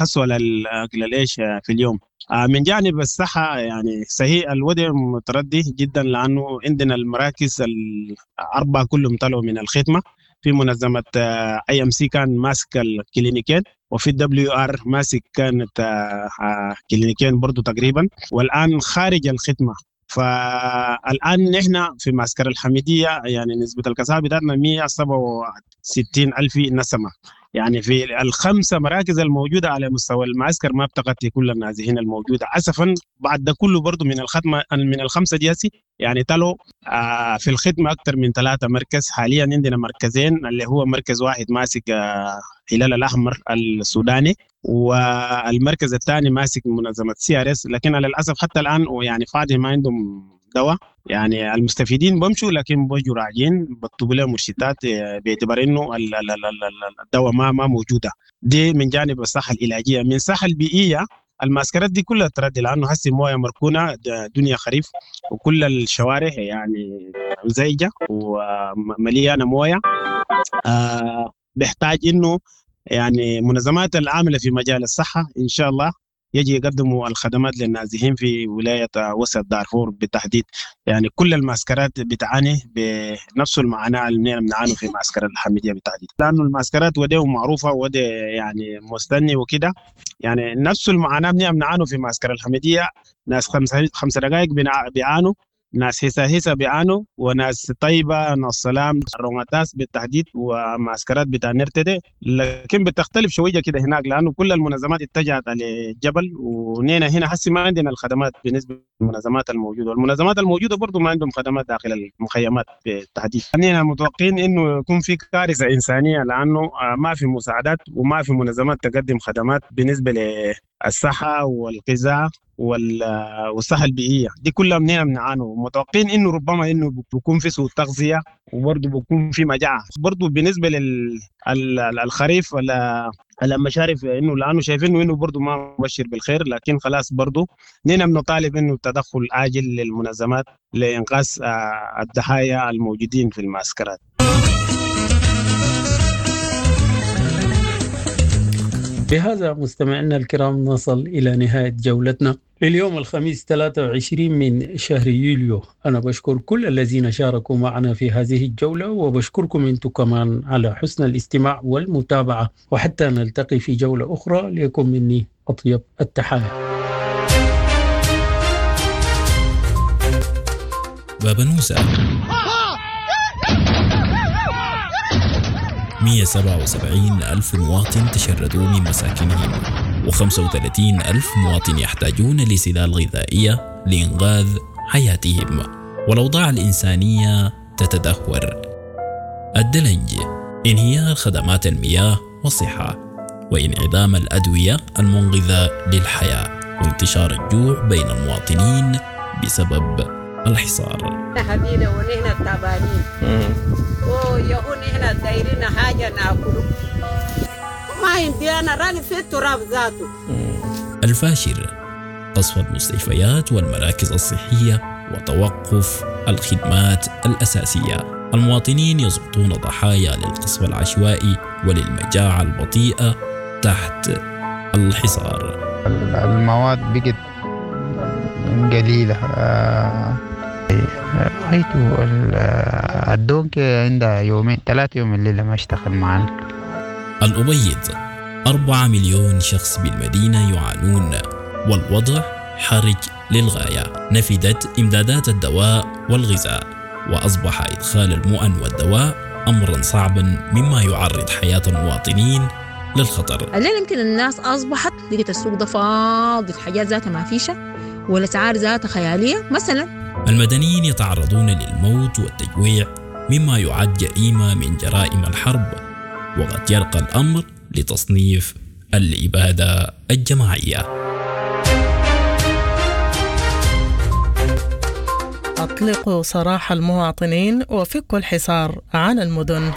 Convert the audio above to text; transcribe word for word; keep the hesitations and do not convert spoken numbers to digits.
يحصلوا على اكل العيش في اليوم. من جانب الصحة يعني صحيح الوضع متردي جدا، لأنه عندنا المراكز الأربعة كلهم طلعوا من الخدمة. في منظمة IMC كان ماسك الكلينيكين، وفي WR ماسك كانت كلينيكين برضو تقريبا، والآن خارج الخدمة. فالآن نحن في معسكر الحميدية يعني نسبة الكثافة بتاعتنا مئة وسبعة وستين ألف نسمة، يعني في الخمسة مراكز الموجودة على مستوى المعسكر ما بتغطي كل النازحين الموجودة أسفا. بعد ده كله برضو من الخدمة من الخمسة دياسي يعني تلو آه في الخدمة أكثر من ثلاثة مركز. حاليا عندنا مركزين، اللي هو مركز واحد ماسك آه هلال الأحمر السوداني، والمركز الثاني ماسك منظمة CRS، لكن على الأسف حتى الآن ويعني فاضي ما عندهم دواء. يعني المستفيدين بمشوا لكن بيجوا راجعين بكتبوا لهم مرشدات باعتبار انه الدواء ما ما موجودة. دي من جانب الصحة العلاجية. من الصحة البيئية المعسكرات دي كلها تردي، لانه هسه مويه مركونة، دنيا خريف، وكل الشوارع يعني مزيجه ومليانة مويه. آه بيحتاج انه يعني منظمات العاملة في مجال الصحة ان شاء الله يجي يقدموا الخدمات للنازحين في ولاية وسط دارفور بالتحديد. يعني كل المعسكرات بتعاني بنفس المعاناة اللي بنعاني في معسكر الحميدية بالتحديد، لأنه المعسكرات ودي معروفة ودي يعني مستني وكده. يعني نفس المعاناة بنعاني في معسكر الحميدية، ناس خمسة خمسة دقائق بيعانوا، ناس هيسا هيسا بيعانوا، وناس طيبة، ناس سلام، الرماتاس بالتحديد، ومعسكرات بتاع نرتدي. لكن بتختلف شوية كده هناك، لأنه كل المنظمات اتجهت على الجبل، ونينا هنا حسي ما عندنا الخدمات بالنسبة للمنظمات الموجودة، والمنظمات الموجودة برضو ما عندهم خدمات داخل المخيمات بالتحديد. نينا متوقعين إنه يكون في كارثة إنسانية، لأنه ما في مساعدات وما في منظمات تقدم خدمات بالنسبة للصحة والغذاء والصحة البيئية. دي كلها مننا بنعانوا، متوقعين انه ربما انه بيكون في سوء تغذية، وبرضه بيكون في مجاعة برضه بالنسبة للخريف ولا المشارف، انه لانه شايفين انه برضه ما مبشر بالخير. لكن خلاص برضه نحن بنطالب انه تدخل عاجل للمنظمات لإنقاذ الضحايا الموجودين في المعسكرات. بهذا مستمعينا الكرام نصل إلى نهاية جولتنا لليوم الخميس ثلاثة وعشرين من شهر يوليو. أنا بشكر كل الذين شاركوا معنا في هذه الجولة، وبشكركم أنتم كمان على حسن الاستماع والمتابعة، وحتى نلتقي في جولة أخرى ليكن مني أطيب التحايا. بابنوسة مئة وسبعة وسبعين ألف مواطن تشردوا من مساكنهم، وخمسة وثلاثين ألف مواطن يحتاجون لسلال غذائية لإنقاذ حياتهم، والأوضاع الإنسانية تتدهور. الدلنج، انهيار خدمات المياه والصحة، وانعدام الأدوية المنقذة للحياة، وانتشار الجوع بين المواطنين بسبب الحصار. حبينا ونحن تعبانين ويهون نحن دايرين حاجة ناكله، ما عندي أنا راني في التراب ذاته. الفاشر، قصف المستشفيات والمراكز الصحية وتوقف الخدمات الأساسية. المواطنين يسقطون ضحايا للقصف العشوائي وللمجاعة البطيئة تحت الحصار. المواد بقت قليلة، رأيته الدونك عندها يومين ثلاثة يوم الليلة ما اشتغل معنا. الأبيض، أربعة مليون شخص بالمدينة يعانون، والوضع حرج للغاية. نفدت إمدادات الدواء والغذاء، وأصبح إدخال المؤن والدواء أمرا صعبا، مما يعرض حياة المواطنين للخطر. الليلة يمكن الناس أصبحت لقيت السوق ده فاضي، الحاجات ذاتها ما فيشة والأسعار ذاتها خيالية مثلا. المدنيين يتعرضون للموت والتجويع، مما يعد جريمة من جرائم الحرب، وقد يرقى الأمر لتصنيف الإبادة الجماعية. أطلقوا سراح المواطنين وفكوا الحصار عن المدن.